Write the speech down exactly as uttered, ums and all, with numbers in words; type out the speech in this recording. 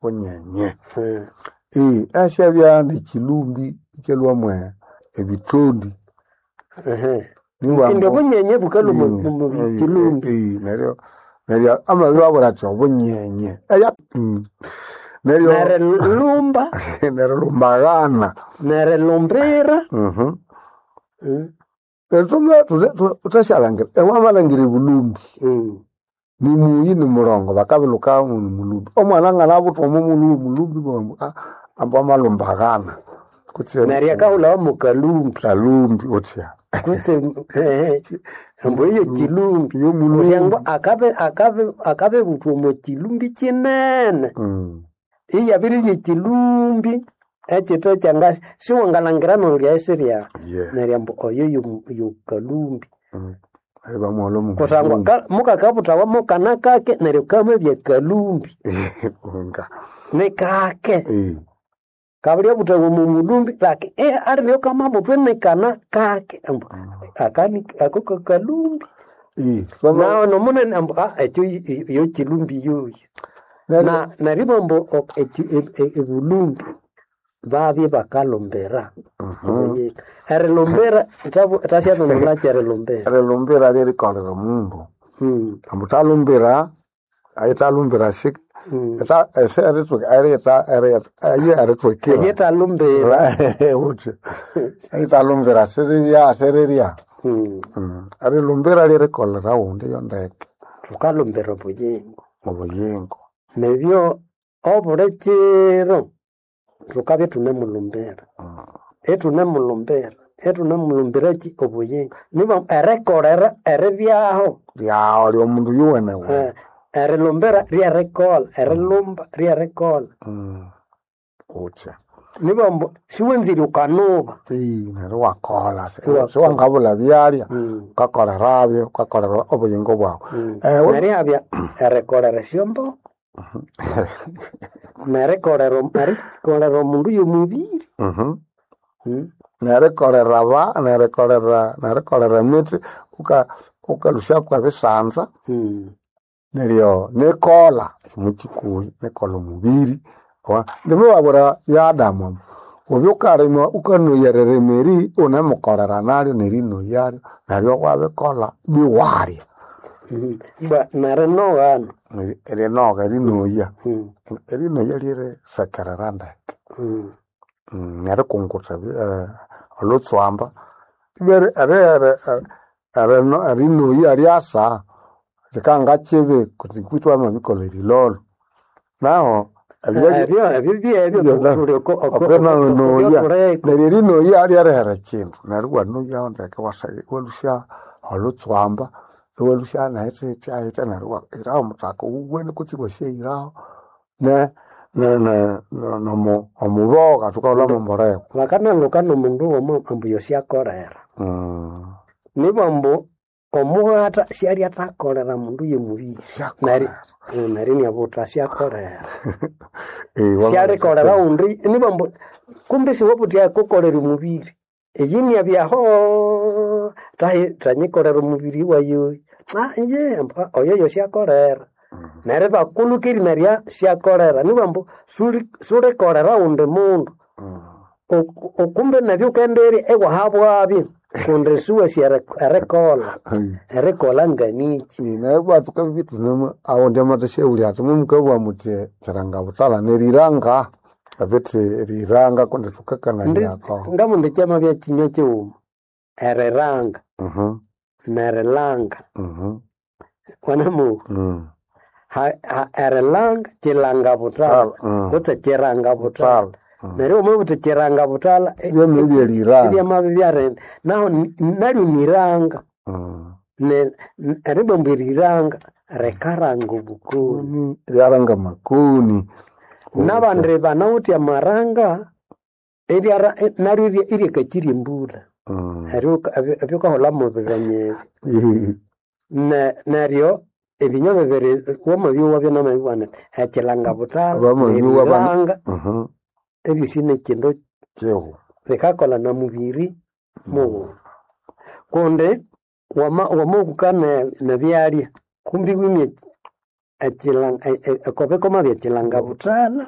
Bunyenye. Eh, Eh, asyabya n'ekilumbi ikyalhwa ebithondi. ehe. Nibwa Indi ambu- obunyenye bukalhwa omu- Mm, omu eh, kilumbi. eh, neryo neryo amabiri athi obunyenye eya mm. Neryo Nerilumba, neryo lumbagana. nerilumbira. Mhm. Mm, Thuthasyalhangira ewamalhangira ebulumbi mm. ni muyi ni mulongo bakabilhuka ni mulumbi omwana anganabuthwa omo mulhu w'omulumbi bambu ambu amalumbagana kutse Neryo akahulhawa mu kalumbi. kalumbi uthya Kutse ehe, ambu eyo kilumbi. Yo mulumbi. Kusangwa akabe akabe akabebuthwa omo kilumbi kinene. Mm. Iyabiribya ekilumbi ekithe kyangasi siwangalhangira nolyaisirya. Yeah. Neryo ambu oyo yo- yo kalumbi. Mm. Neryo bamuholha omu Kusangwa mulumbi. ka- mukakabuthawa mukana kake neryo kamabya kalumbi. Nga. Ni kake. Eh. Kabulyabuthawa omu mulumbi laki eh, alibya kamabuthwa nikana kake ambu akani ako kakalumbi. Eh. Twama- Naho nomunene ambu ah, ekyo yo kilumbi yoyo. neryo- Na neryo ambu ok- eki- e- e- ebulumbi babye bakalumbira. Obuyika. Erilumbira thasyathondolhaki erilumbira. erilumbira lyerikolera omundu Mm, ambu thalumbira ayithalumbira shi mm. eta- ese eritsuka eriyitha eriyitha ayi eritswekera Eyithalumbira. uthi ayithalumbira sirirya sirirya Mm. Mm. Erilumbira lyerikolera wundi yo ndeke Thukalumbira obuyingo. obuyingo Nibyo obuli kiro thukabya ithunemulumbira. Ithunemulumbira, ithunemulumbira ki obuyingo. Niba erikolera eribyaho. lyawo lyomundu yuwenewene Eh, erilumbira ryerikolha, erilumba ryerikolha. uthi Niba ambu siwanzire ukanuba. Ii, neryo wakolha Iwakolha. siwangabulha byalya Mm. ukakolerabyo ukakolera obuyingo bwawu Mm. Eh, we- Neryo habya erikolera esyomboko. Nerikolera erikolera omundu y'omubiri. Mhm. Mm. nerikolera ba nerikolera nerikolera emithi uka ukalushaku ebisanza Mm. neryo nikolha mukikuyi nikolha omubiri Wa- ndimubabwira ya Adamu ambu, oby ukalima ukanoya eririma unemukolera naryo nerinoyaryo neryo wabikolha biwalya Mm. Ba nerinoghana. erinoga erinoya Mm. erinoya lyerisekerera ndeke Mm. Mm, nerikungutha ebi- eh, olhutswamba Ibere- eri- eri- eri- erinoya lyasa likanga kibi kundi kwithu wamabikolha erilolo naho Ebyo ebyo byebyo thuli oko oko okwenoya okobyathuliko. neryo erinoya lyerihera ekindu neryo iwanoyaho ndeke iwasa- iwalusya olhutswamba iwalusya nahithihithya neryo iwahiraho omuthaka owuwene kutse iwasyahiraho ne- ne- ne- ne- nomu- omuboga thukahulha momboleko Bakanalhuka nomundu womo ambu yosyakolera. Mm. Nibo ambu omughata syalyathakolera mundu y'omubiri. Neri Syakolera. neryo inabutha syakolera. Eh, wama- Syalikolera wundi nibo ambu kumbe siwabutya kukolera omubiri. Eyi inabyaho tahi thanyikolera omubiri wayo. Ah iye ambu ah, oyo yosyakolera. Neryo bakulhuka nerya syakolera nibo ambu suli sulikolera wundi mundu. Mm. Oku- okumbe nabyo ukenderya iwahabwabyo kundi siwasi eri- erikolha erikolha nganiki Naye bwathuka thunemu awundi amathasyawulya athi mumukabugha muthi kiranga buthalha neriranga abithi eriranga kundi Ndi- thukakananiako ngamundi kyamabya kinywa kighuma eriranga Mhm, nerilanga mhm, wanamuwa mm. Ha- ha- erilanga kilanga buthalha Buthalha, mm. kutse kiranga buthalha Buthalha, mm. neryo wamabutha kiranga buthalha e- Byamabya eriranga ibyamabya byarindi naho ni- naryo niranga Mm. Ne- n- eribamba eriranga rikaranga obukoni Kuni, lyaranga makoni nabandi banawithe amaranga eryara e- naryo irya- iryakakirya embulha Mm. Eryo ebyo- ebyukaholha mubiranye ebi Ne- neryo ebinywa bibiri wamabyowa byanamabibwana ekilanga buthalha Wamabyowa bana- neriranga Mhm, ebyosi nekindu kihu bikakolha na mubiri mughuma kundi wama wamahuka ne- nebyalya kumbi wimye Ekilanga ekobiko mabya ekilanga buthalha.